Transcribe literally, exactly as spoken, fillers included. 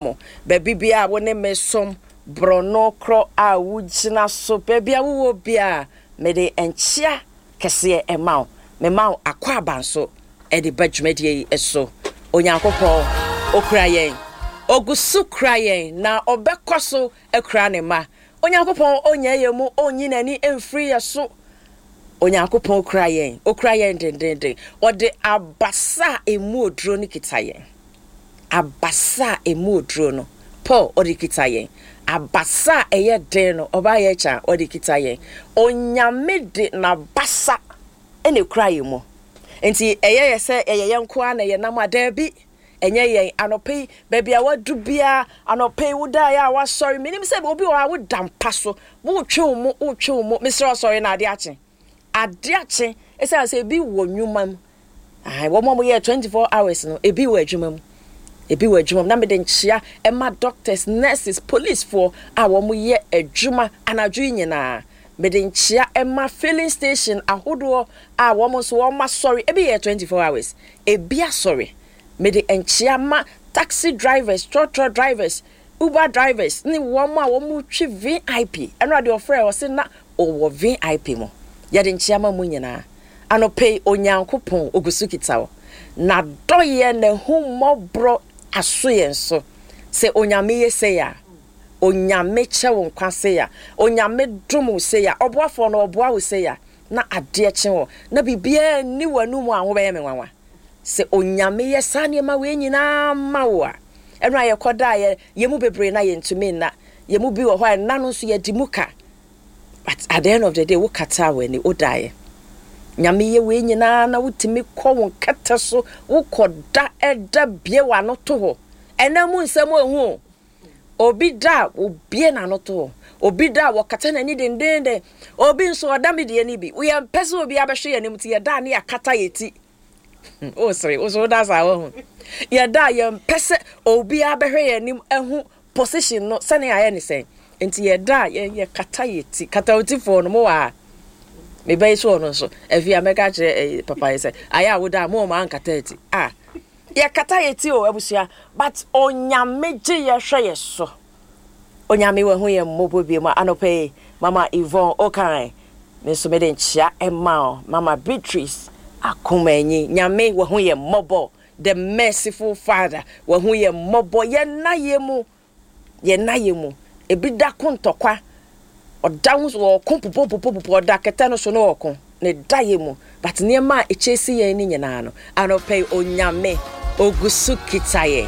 Mo baabi biara a wo ne me som borɔno korɔ a wogyina so, baabi a wowɔ biara, mede nkyea kɛseɛ ɛma wo. Mema wo akwaaba nso ɛde ba dwumadie yi so. Onyankopɔn okura yɛn, ogu so kura yɛn, na ɔbɛkɔ so akura ne mma. Onyankopɔn onyɛ yɛn mu, ɔnyi n'ani mfiri yɛ so. Onyankopɔn kura yɛn, okura yɛn dendenden. Ɔde abasa a emu oduro no kita yɛn. Abasa a emu oduro no, Paul, ɔde kita yɛn. Abasa a ɛyɛ den no, ɔbaa yɛ kyɛn, ɔde kita yɛn. Onyame de n'abasa ɛna ekura yɛn mu. Nti ɛyɛ yɛ sɛ ɛyɛ yɛn nko ara na yɛn nam a, daabi, ɛnyɛ yɛn. Anɔpɛ yi, baabi a wadu biara, anɔpɛ yi woda yɛ a wasɔre, menim sɛ obi wɔ hɔ a woda mpa so, wotwe wo mu, wotwe wo mu, mesrɛ, ɔsɔre na ade akye, ade akye. Ɛsiane sɛ ebi wɔ nnwuma mu, wɔn a wɔyɛ twenty four hours no, ebi wɔ adwuma mu, ebi wɔ adwuma mu. Na mede nkyea ɛma doctors, nurses, policefoɔ a wɔn yɛ adwuma anadwo yi nyinaa. Mede nkyea ɛma filling station ahodoɔ a wɔn nso wɔn asɔre, ebi yɛ twenty four hours, ebi asɔre. Mede nkyea ma taxi drivers, trɔtrɔ drivers, Uber drivers ne wɔn a wɔn twi V I P. Ɛno adeɛ ɔfrɛ ɔse na ɔwɔ V I P mu. Yɛde nkyea ma mu nyinaa. Anɔpɛ yi, Onyankopɔn ogu so kita wo na dɔyɛ n'ahummɔborɔ aso yɛn so. Sɛ Onyame yɛ sei a, Onyame kyɛ wo nkwa sei a, Onyame dom wo sei a, ɔboafoɔ no ɔboa wo sei a, na adeɛ kye wɔ na biribiara nni w'anum a ho bɛyɛ me nwanwa sɛ Onyame yɛ saa nneɛma wei nyinaa ma wo a. Ɛno a yɛkɔda a, yɛ yɛn mu bebree na yɛntumi nna. Yɛn mu bi wɔ hɔ a, ɛnna no nso yɛdi mu ka, but at the end of the day, wokata w'ani wodaeɛ. Nyame yɛ wei nyinaa na wotumi kɔ wo nkɛtɛ so, wokɔ da, ɛda bie w'ano to hɔ. Ɛnna mu nsɛm ehu o. Obi da a, obie n'ano to hɔ. Obi da a, wɔkata n'ani dendenden. Obi nso ɔda mi deɛ ni bi yɛn mpɛ sɛ obi abɛhwɛ yɛn anim, ti yɛda a ne yɛakata yɛ ti. O sere o so da saa wɔ ho. Yɛda a, yɛn mpɛ sɛ obi abɛhwɛ yɛn anim ɛho position no sɛnea ayɛ ne sɛn, nti yɛda a, yɛn yɛkata yɛ ti. Kata o ti foɔ no mo wɔ ha, mebɛyi so ɔno nso afi a mɛka kyerɛ ɛyi papa yi sɛ ayɛ a woda a mo ɔmo ankata ti a yɛkata yɛ ti o. Abusua, but Onyame gye yɛhwɛ yɛ so. Onyame wɔ ho yɛ mmɔbɔ bi mu. Anɔpɛ yi, Mama Yvonne Okan, me nso mede nkyea ɛma o. Mama Beatrice Akomanyi, Nyame wɔ ho yɛ mmɔbɔ. The merciful Father wɔ ho yɛ mmɔbɔ. Yɛn na yɛ mu, yɛn na yɛ mu. Ebi da ko ntɔkwa, ɔda ho so ɔko pupopupopupo, ɔda kɛtɛ no so no ɔko ne da yɛ mu, but nneɛma a ɛkyɛ si yɛn ne nyinaa no, anɔpɛ yi Onyame ogu so kita yɛn.